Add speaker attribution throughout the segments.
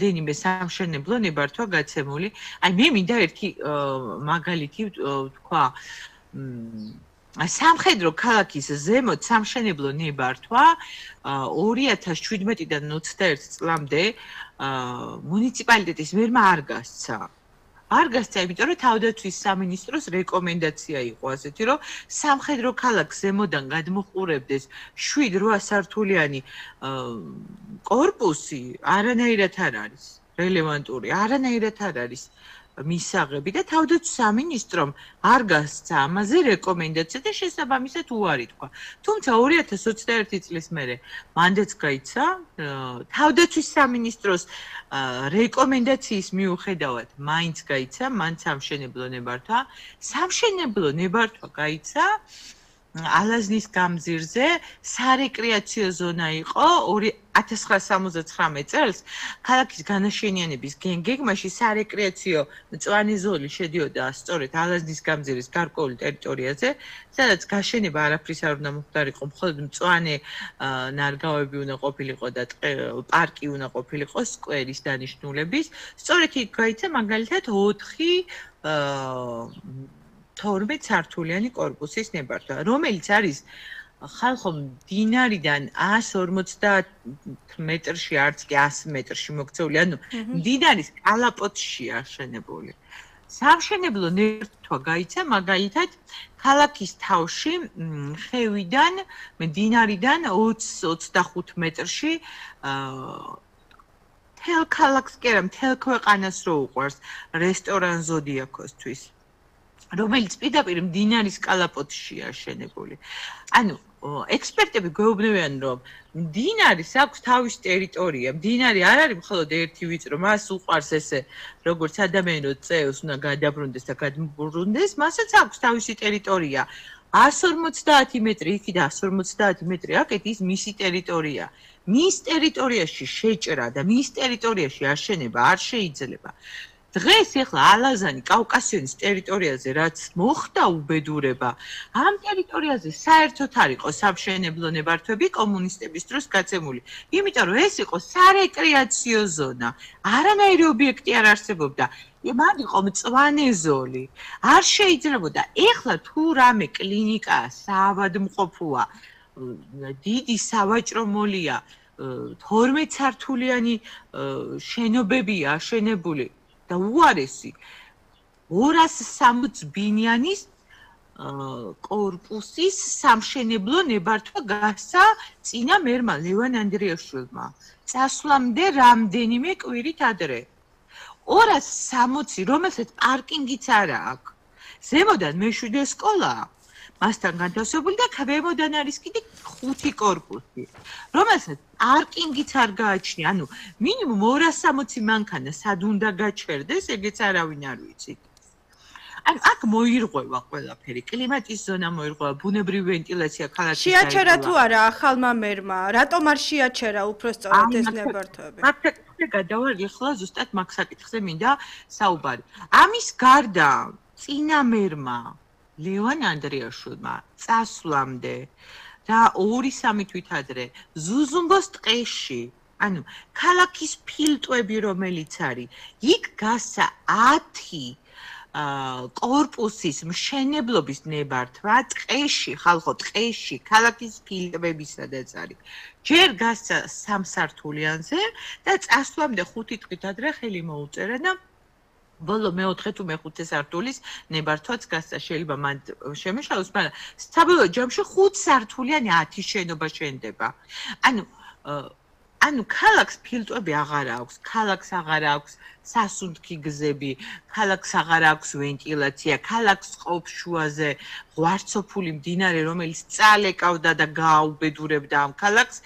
Speaker 1: დენიმე სამშენებლო ნებართვა გაცემული. აი მე მინდა ერთი მაგალითი თქვა სამხედრო ქალაქის ზემოთ სამშენებლო ნებართვა 2017-დან 21 წლამდე მუნიციპალიტეტის მერმა არ გასცა. არ გასცა, იმიტომ რომ თავდაცვის სამინისტროს რეკომენდაცია იყო ასეთი, რომ სამხედრო ქალაქს ზემოდან გადმოჰყურებდეს 7-8 სართულიანი კორპუსი, არანაირად არ არის რელევანტური, არანაირად არ არის მისაღები და თავდაცვის სამინისტრომ არ გასცა ამაზე რეკომენდაცია და შესაბამისად უარი თქვა. თუმცა 2021 წლის მერე მანდაც გაიცა თავდაცვის სამინისტროს რეკომენდაციის მიუხედავად მაინც გაიცა მან სამშენებლო ნებართვა. სამშენებლო ნებართვა გაიცა ალაზნის გამზირზე სარეკრეაციო ზონა იყო 1979 წელს ქალაქის განაშენიანების გეგმაში სარეკრეაციო მწვანე ზოლი შედიოდა სწორედ ალაზნის გამზირის გარკვეულ ტერიტორიაზე, სადაც გაშენება არაფრის არ უნდა მოხდარიყო, მხოლოდ მწვანე ნარგავები უნდა ყოფილიყო და პარკი უნდა ყოფილიყო სკვერის დანიშნულების. სწორედ იქ გაიცა მაგალითად 12 სართულიანი კორპუსის ნებართვა, რომელიც არის ხალხო მდინარიდან 150 მეტრში, არც კი 100 მეტრში მოქცეული, ანუ მდინარის კალაპოტში აშენებული. სამშენებლო ნებართვა გაიცა მაგალითად ქალაქის თავში ხევიდან, მდინარიდან 20-25 მეტრში მთელ ქალაქს კი არა, მთელ ქვეყანას რო უყვარს რესტორან ზოდიაქოსთვის. რომელიც პირდაპირ მდინარის კალაპოტშია აშენებული. ანუ ექსპერტები გვეუბნებიან, რომ მდინარის აქვს თავისი ტერიტორია. მდინარი არ არის მხოლოდ ერთი ვიწრო, მას უყვარს ესე, როგორც ადამიანი წევს უნდა გადაბრუნდეს და გადმობრუნდეს, მასაც აქვს თავისი ტერიტორია. 150 მეტრი იქიდან 150 მეტრი აკეთ ის მისი ტერიტორია. მის ტერიტორიაში შეჭრა და მის ტერიტორიაში აშენება არ შეიძლება. დღეს ეხლა ალაზანი კავკასიონის ტერიტორიაზე რაც მოხდა უბედურება, ამ ტერიტორიაზე საერთოდ არ იყო სამშენებლო ნებართვები კომუნისტების დროს გაცემული. იმიტომ რომ ეს იყო სარეკრეაციო ზონა. არანაირი ობიექტი არ არსებობდა. მან იყო მწვანე ზოლი. არ შეიძლებოდა. ეხლა თუ რამე კლინიკაა, საავადმყოფოა, დიდი სავაჭრო მოლია, 12 სართულიანი შენობებია აშენებული. და უარესი 260 ბინიანის კორპუსის სამშენებლო ნებართვა გასცა წინა მერმა ლევან ანდრიაშვილმა. წასვლამდე რამდენიმე კვირით ადრე. 260, რომელსაც პარკინგიც არა აქვს. ზემოდან მეშვიდე სკოლაა. მასთან განთავსებული და ქვემოდან არის კიდე 5 კორპუსი, რომელსაც პარკინგიც არ გააჩნია. ანუ მინიმუმ 260 მანქანა სად უნდა გაჩერდეს, ეგეც არავინ არ ვიცით. ანუ აქ მოირღვევა ყველაფერი, კლიმატის ზონა მოირღვევა, ბუნებრივი ვენტილაცია ქალაქის.
Speaker 2: შეაჩერა თუ არა ახალმა მერმა? რატომ არ შეაჩერა უფრო სწორად ეს ნებართვები?
Speaker 1: მაგ გადავალ ეხლა ზუსტად მაგ საკითხზე მინდა საუბარი. ამის გარდა წინა მერმა ლევან ანდრიაშვილმა წასვლამდე და 2-3 თვით ადრე ზუზუმბოს ტყეში, ანუ ქალაქის ფილტვები რომელიც არის, იქ გასცა 10 კორპუსის მშენებლობის ნებართვა ტყეში, ხალხო ტყეში, ქალაქის ფილტვები სადაც არის. ჯერ გასცა 3 სართულიანზე და წასვლამდე 5 თვით ადრე ხელი მოუწერა და ბოლო მე-4 თუ მე-5 სართულის ნებართვაც გასცა, შეიძლება მან შემეშალოს, მაგრამ საბოლოო ჯამში 5 სართულიანი 10 შენობა შენდება. ანუ ქალაქს ფილტვები აღარ აქვს, ქალაქს აღარ აქვს სასუნთქი გზები, ქალაქს აღარ აქვს ვენტილაცია, ქალაქს ყოფს შუაზე ღვარცოფული მდინარე, რომელიც წალეკავდა და გააუბედურებდა ამ ქალაქს,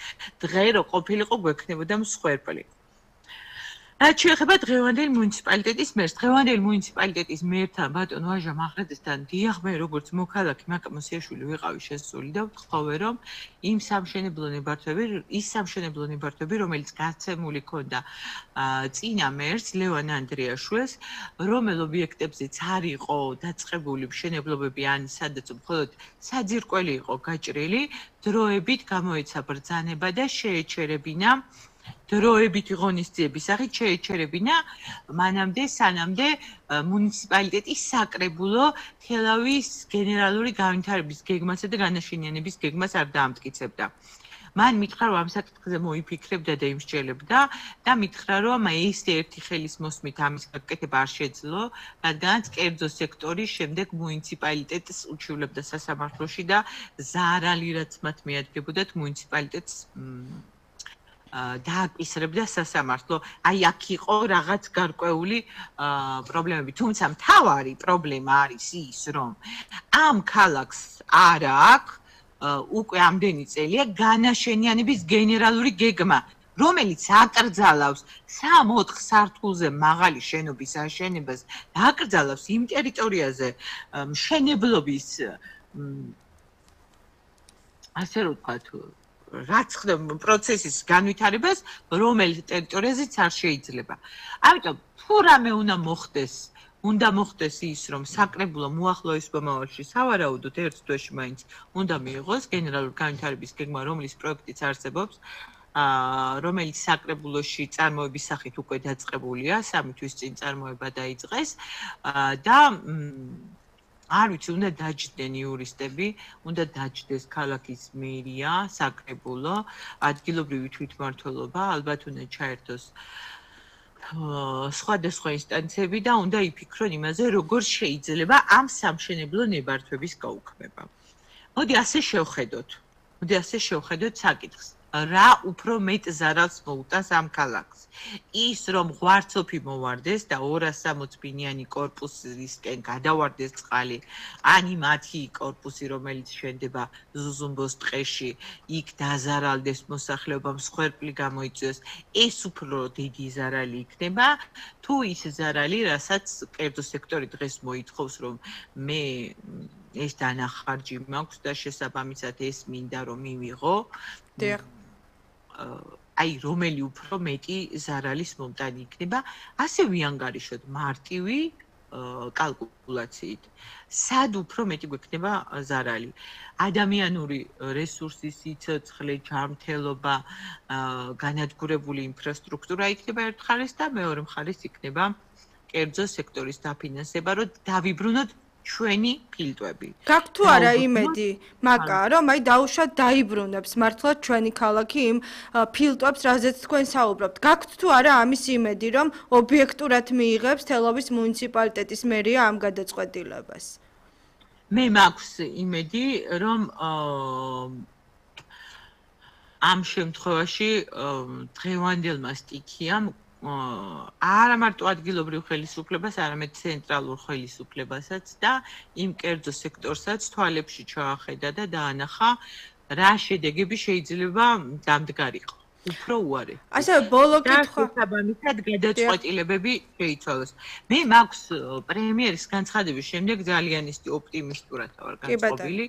Speaker 1: დღე რო ყოფილიყო გვექნებოდა მსხვერპლი. რაც შეეხება დღევანდელ მუნიციპალიტეტის მერს, დღევანდელ მუნიციპალიტეტის მერთან ბატონ ვაჟა მახრაძესთან დიახ, მე როგორც მოქალაქე მაკა მოსიაშვილი ვიყავი შესული და ვთხოვე, რომ იმ სამშენებლო ნებართვები, რომელიც გაცემული ქონდა წინა მერს ლევან ანდრიაშვილს, რომელ ობიექტებზეც არ იყო დაწყებული მშენებლობები ან სადაც მხოლოდ საძირკველი იყო გაჭრილი, დროებით გამოეცა ბრძანება და შეეჩერებინა დროებითი ღონისძიების სახით შეეჩერებინა მანამდე სანამდე მუნიციპალიტეტის საკრებულო თელავის გენერალური განვითარების გეგმასა და განაშენიანების გეგმას არ დაამტკიცებდა. მან მითხრა რომ ამ საკითხზე მოიფიქრებდა და იმსჯელებდა და მითხრა რომ ეს ერთი ხელის მოსმით ამის გაკეთება არ შეძლო, რადგანაც კერძო სექტორი შემდეგ მუნიციპალიტეტს უჩივლებდა სასამართლოში და ზარალი რაც მათ მიადგებოდათ მუნიციპალიტეტს დააკისრებდა სასამართლო. აი აქ იყო რაღაც გარკვეული პრობლემები, თუმცა მთავარი პრობლემა არის ის, რომ ამ ქალაქს არ აქვს უკვე ამდენი წელია განაშენიანების გენერალური გეგმა, რომელიც აკრძალავს 3-4 სართულზე მაღალი შენობის აშენებას და აკრძალავს იმ ტერიტორიაზე მშენებლობის ასე რომ ვთქვათ რაც ხდება პროცესის განვითარებას, რომელიც ტერიტორიაზეც არ შეიძლება. ამიტომ თუ რამე უნდა მოხდეს ის, რომ საკრებულო მოახლოეს მომავალში სავარაუდოდ ერთ თვეში მაინც უნდა მიიღოს გენერალური განვითარების გეგმა, რომლის პროექტიც არსებობს, რომელიც საკრებულოში წარმოების სახით უკვე დაწყებულია, 3 თვის წინ წარმოება დაიწყეს და არ ვიცი, უნდა დაჯდნენ იურისტები, უნდა დაჯდეს ქალაქის მერია, საკრებულო, ადგილობრივი თვითმმართველობა, ალბათ უნდა ჩაერთოს სხვადასხვა ინსტანციები და უნდა იფიქრონ იმაზე, როგორ შეიძლება ამ სამშენებლო ნებართვების გაუქმება. მოდი ასე შევხედოთ საკითხს. რა უფრო მეტ ზარალს მოუტანს ამ ქალაქს? ის, რომ ღვარცოფი მოვარდეს და 260 ბინიანი კორპუსისკენ გადავარდეს წყალი, ani მათი კორპუსი, რომელიც შენდება ზუზუმბოს ტყეში, იქ დაზარალდეს მოსახლეობამ, სხვერპლი გამოიწვიოს, ეს უფრო დიდი ზარალი იქნება, თუ ის ზარალი, რასაც კერძო სექტორი დღეს მოითხოვს, რომ მე ეს დანახარჯი მაქვს და შესაბამისად ეს მინდა რომ მივიღო. აი რომელი უფრო მეტი ზარალის მომტანი იქნება, ასე ვიანგარიშოთ მარტივი კალკულაციით. სად უფრო მეტი გვექნება ზარალი? ადამიანური რესურსის სიცოცხლე, ჯანმრთელობა, განადგურებული ინფრასტრუქტურა იქნება ერთ მხარეს და მეორე მხარეს იქნება კერძო სექტორის დაფინანსება, რომ დავიბრუნოთ ჩვენი ფილტვები.
Speaker 2: გაქვთ თუ არა იმედი, მაკა, რომ აი დაუშვათ დაიბრუნებს მართლაც ჩვენი ქალაქი იმ ფილტვებს, რაზეც თქვენ საუბრობთ. გაქვთ თუ არა ამის იმედი, რომ ობიექტურად მიიღებს თელავის მუნიციპალიტეტის მერია ამ გადაწყვეტილებას?
Speaker 1: მე მაქვს იმედი, რომ ამ შემთხვევაში დღევანდელმა სტიქიამ არა მარტო ადგილობრივ ხელისუფლებას, არამედ ცენტრალურ ხელისუფლებასაც და იმ კერძო სექტორსაც თვალებში ჩაახედა და დაანახა, რა შედეგები შეიძლება დამდგარიყო. უფრო უარი.
Speaker 2: ასე ბოლო კითხვა.
Speaker 1: შესაბამისად გადაწყვეტილებები შეიცვალოს. მე მაქვს პრემიერის განცხადების შემდეგ ძალიან ისე ოპტიმისტურად ვარ განწყობილი.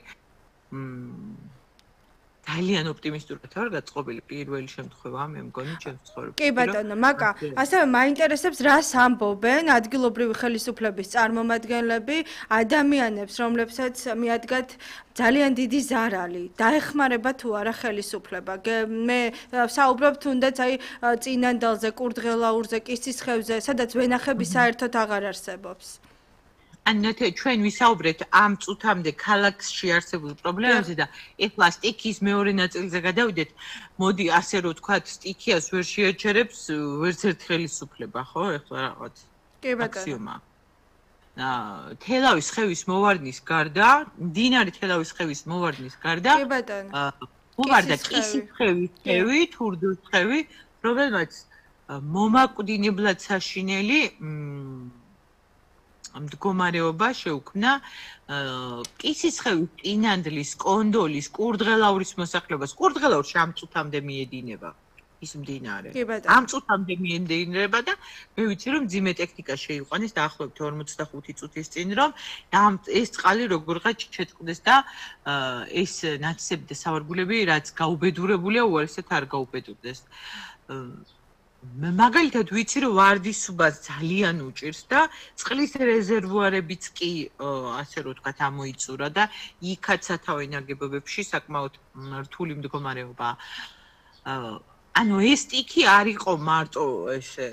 Speaker 1: ძალიან ოპტიმისტურად ვარ გაწყობილი პირველი შემთხვევა მე მგონი ჩემს ცხოვრებაში.
Speaker 2: კი ბატონო, მაკა, ასევე მაინტერესებს რას ამბობენ ადგილობრივი ხელისუფლების წარმომადგენლები ადამიანებს, რომლებსაც მიადგათ ძალიან დიდი ზარალი. დაეხმარება თუ არა ხელისუფლება? მე საუბრობ თუნდაც აი წინანდალზე, კურდღელაურზე, კისისხევზე, სადაც ვენახები საერთოდ აღარ არსებობს.
Speaker 1: ანათე ჩვენ ვისაუბრეთ ამ წუთამდე ქალაქში არსებულ პრობლემებზე და ეხლა სტიქიის მეორე ნაწილზე გადავიდეთ. მოდი ასე რომ ვთქვათ, სტიქიას ვერ შეაჩერებს ვერც ერთ ხელისუფლება, ხო? ეხლა რაღაც აქსიომა. თელავის ხევის მოვარდნის გარდა, მდინარე თელავის ხევის მოვარდნის გარდა,
Speaker 2: კი ბატონო.
Speaker 1: მოვარდა კისისხევის ხევი, თურდოს ხევი, რომელმაც მომაკვდინებლად საშინელი მდგომარეობა შეუქმნა კისისხევის, წინანდლის, კონდოლის, კურდღელაურის მოსახლეობას. კურდღელაურში ამ წუთამდე მიედინება ის მდინარე. ამ წუთამდე მიედინება და მე ვიცი რომ ძიმე ტექნიკა შეიყვანეს დაახლოებით 45 წუთის წინ რომ ეს წყალი როგორღაც შეწყდეს და ეს ნათესები და სავარგულები რაც გაუბედურებულია უარესად არ გაუბედურდეს. მაგალითად ვიცი რომ ვარდისუბას ძალიან უჭირს და წყლის რეზერვუარებიც კი ასე რომ ვთქვათ ამოიწურა და იქაც სათავე ნაგებობებში საკმაოდ რთული მდგომარეობაა. ანუ ეს ტიქი არ იყო მარტო ესე